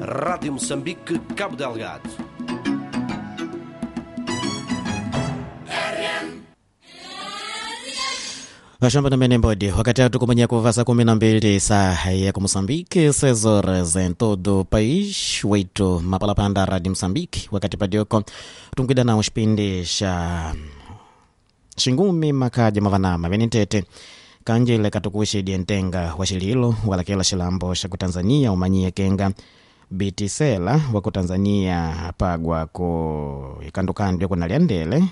Rádio Moçambique, Cabo Delgado. Vashamba na mene mbodi wakati atukumanya kuva saa 12 saa ya ku Moçambique, 6 horas em todo o país, 8 mapalapanda Rádio Moçambique, wakati padioko tunkwida na xipindi xa xingumi makaja mavanama venitete kanjile katukuxidie ntenga wa xililo walakela xilambo xa ku Tanzania umanyie kenga bitisela wa ku Tanzania apagwa ku ikandukandu kuna lyandele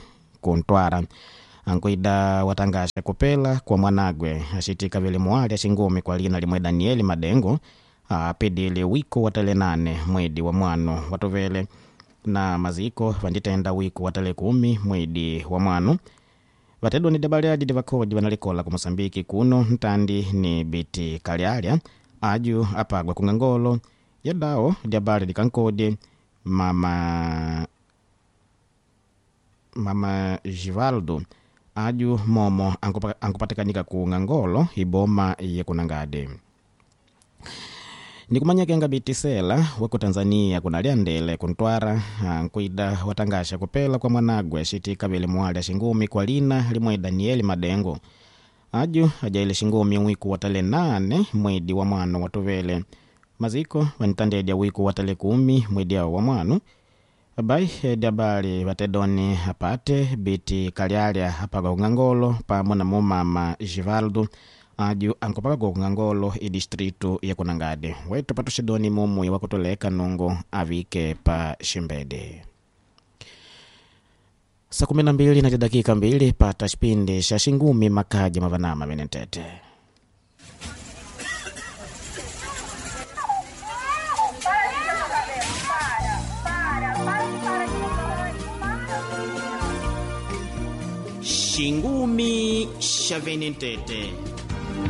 ku Ntwara ankuida watangasha kupela kwa mwanagwe axitika vile muali axingumi kwa lina limwe Danieli Madengo apidile wiko wa tale 8 mwedi wa mwano watuvele na maziko vanditenda wiko wa tale 10 mwedi wa mwano vatedwa ni dabaliadi divakodi vanalikola ku Mosambiki kuno ntandi ni biti kalyalya aju apagwa kung'angolo yadao dyabali dikankodi mama Givaldo aju momo ankupatikanika ku ng'angolo iboma yekunangade nikumanya kenga bitisela waku Tanzania kunalyandele kuntwara nkuida watangasha kupela kwa mwanagwe xitika vile mwali axingumi kwa lina limwe Danieli Madengo aju ajaile xingumi wiku wa tale 8 mwedi wa mwano watuvele maziko vanitandedya wiku wa tale 10 mwedi awo wa mwano abai dyabali vatedoni apate biti kalyalya apagwa kung'angolo pamwe na mumama Givaldo aju ankupakagwa kung'angolo idistritu ya kunangade wetu patuxidoni mumui wakutuleka nungu avike pa ximbede. Saa 12 na dakika 2 pata xipindi xa xingumi makaja mavanama venentete. Xingumi xa venentete.